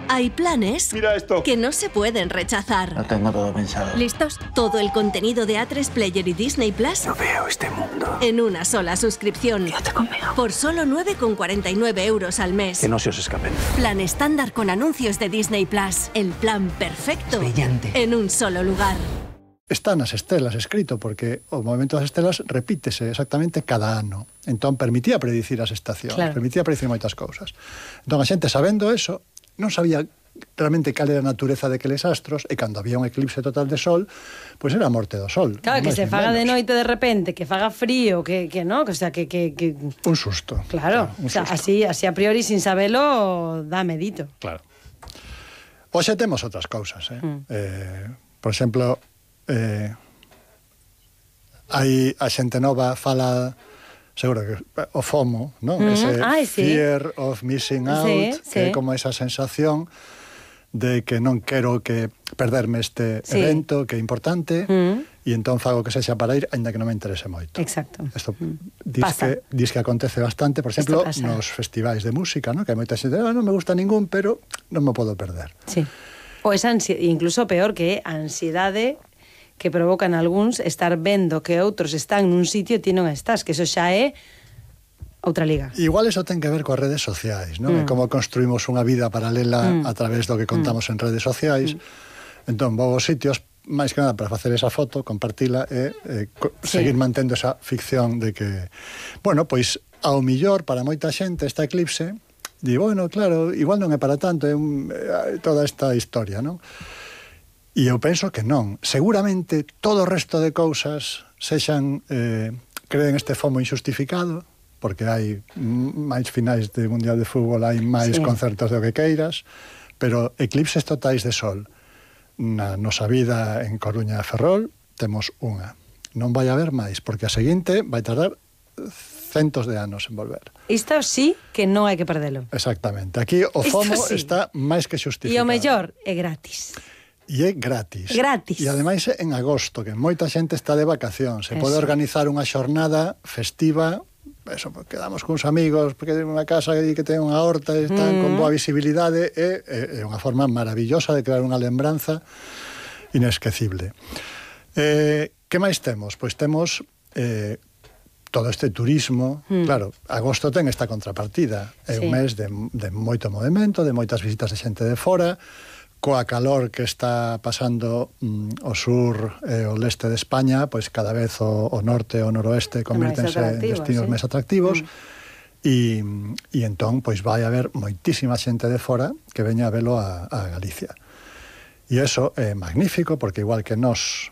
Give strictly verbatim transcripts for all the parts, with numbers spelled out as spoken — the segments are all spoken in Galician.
Hay planes Mira esto. que no se pueden rechazar. Lo tengo todo pensado. ¿Listos? Todo el contenido de A tres Player y Disney Plus No veo este mundo. en una sola suscripción. Quédate conmigo. Por solo nueve con cuarenta y nueve euros al mes. Que no se os escapen. Plan estándar con anuncios de Disney Plus. El plan perfecto. Brillante. En un solo lugar. Está nas estelas escrito, porque o movimento das estelas repítese exactamente cada ano. Entón, permitía predicir as estacións, Claro. permitía predicir moitas cousas. Entón, a xente, sabendo eso, non sabía realmente cal era a natureza de aqueles astros, e cando había un eclipse total de sol, pois era a morte do sol. Claro, que máis se nin faga de menos. noite de repente, que faga frío, que, que no, que, o sea, que... que, que... Un susto. Claro, un o sea, susto. así, así a priori, sin sabelo, dá medito. Claro. Hoxe temos outras cousas, eh? Mm. eh por exemplo, eh, hai a xente nova fala seguro que o FOMO, non? Mm, Ese ai, sí. fear of missing out, Sí, que é sí. como esa sensación de que non quero que perderme este Sí. evento que é importante, Mm. e entón fago que sexa para ir, aínda que non me interese moito. Exacto. Isto Mm. dis Pasa. que, dis que acontece bastante, por exemplo, Isto pasa. nos festivais de música, ¿no? Que hai moita xente, ah, non me gusta ningún, pero non me podo perder. Sí. O esa ansiedade, incluso peor que a ansiedade que provocan algúns estar vendo que outros están nun sitio e ti non estás, que eso xa é outra liga. Igual eso ten que ver coas redes sociais, non? Mm. E como construímos unha vida paralela Mm. a través do que contamos en redes sociais. Entón, vou aos sitios, máis que nada, para facer esa foto, compartila e eh, co- Sí. seguir mantendo esa ficción de que... Bueno, pois, ao millor, para moita xente, esta eclipse, di, bueno, claro, igual non é para tanto, é un, eh, toda esta historia, non? E eu penso que non. Seguramente todo o resto de cousas sexan, eh, creen este FOMO injustificado, porque hai mm, máis finais de Mundial de Fútbol, hai máis Sí. concertos do que queiras, pero eclipses totais de sol na nosa vida en Coruña e Ferrol temos unha. Non vai haber máis, porque a seguinte vai tardar centos de anos en volver. Isto sí que non hai que perdelo. Exactamente. Aquí o Isto FOMO sí. está máis que E justificado. o mellor é gratis. E é gratis. Gratis. E ademais é en agosto, que moita xente está de vacación. Se pode Eso. organizar unha xornada festiva, eso, pues, quedamos cuns amigos, porque ten unha casa que ten unha horta, e están Mm. con boa visibilidade, e é unha forma maravillosa de crear unha lembranza inesquecible. Eh, que máis temos? Pois temos eh, todo este turismo. Mm. Claro, agosto ten esta contrapartida. É Sí. un mes de, de moito movimento, de moitas visitas de xente de fora, coa calor que está pasando mm, o sur e o leste de España, pois cada vez o, o norte e o noroeste convírtense en atractivos, destinos sí. máis atractivos. Mm. E, e entón, pois vai haber moitísima xente de fora que veña a velo a, a Galicia. E iso é magnífico, porque igual que nós,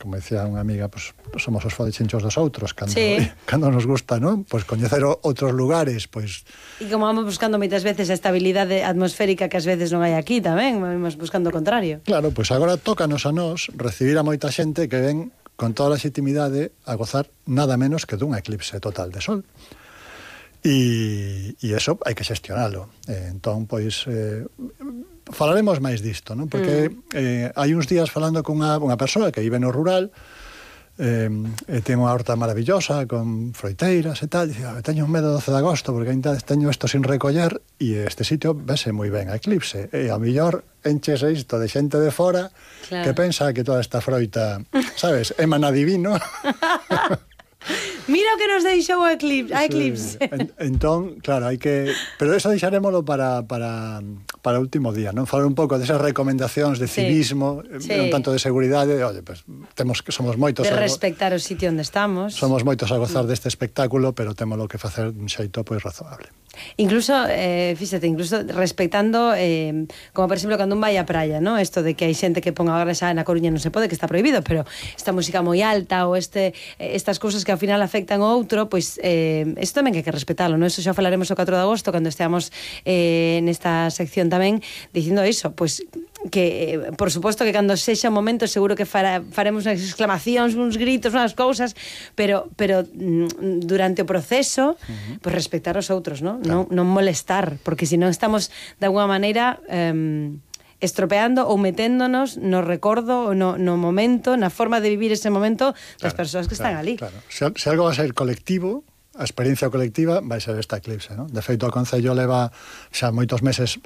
como decía unha amiga, pues, somos os fodechinchos dos outros, cando, Sí. cando nos gusta, non? Pois coñecer o- outros lugares, pois... E como vamos buscando moitas veces a estabilidade atmosférica que ás veces non hai aquí tamén, vamos buscando o contrario. Claro, pois agora tócanos a nós recibir a moita xente que ven con toda a legitimidade a gozar nada menos que dun eclipse total de sol. E, e eso hai que xestionalo. Eh, entón, pois... Eh, falaremos máis disto, non? Porque mm. eh, hai uns días falando con unha, unha persoa que vive no rural, eh, e ten unha horta maravillosa con froiteiras e tal, e dicía, teño un medo doce de agosto porque ainda teño isto sin recoller, e este sitio vese moi ben a eclipse, e ao millor enchese isto de xente de fora, Claro. que pensa que toda esta froita, sabes, é maná divino. Mira o que nos deixou o eclipse, a eclipse. Sí. En, entón, claro, hai que... Pero eso deixarémolo para, para, para o último día, non? Falar un pouco desas recomendacións de Sí. civismo, Sí. un tanto de seguridade, oye, pues, temos que somos moitos... De a- respectar o sitio onde estamos. Somos moitos a gozar deste espectáculo, pero témolo que facer dun xeito pois razoable. Incluso, eh, fíxate, incluso respectando, eh, como por exemplo, cando un vai á praia, ¿no? Esto de que hai xente que ponga agora xa na Coruña non se pode, que está prohibido, pero esta música moi alta ou este, eh, estas cousas que ao final afectan ao outro, pois eh, isto tamén que hai que respetalo, ¿no? Eso xa falaremos o catro de agosto, cando esteamos eh, nesta sección tamén, dicindo iso, pois que, eh, por suposto que cando sexa o momento seguro que fara, faremos unhas exclamacións, uns gritos, unhas cousas, pero pero mm, durante o proceso, uh-huh. pois respectar os outros, ¿no? Claro. Non, non molestar, porque se non estamos de alguma maneira eh, estropeando ou meténdonos no recordo, no, no momento, na forma de vivir ese momento das Claro, persoas que claro, están ali. Claro. Se, se algo va a ser colectivo, a experiencia colectiva vai ser esta eclipse, non? De feito, o Concello leva xa moitos meses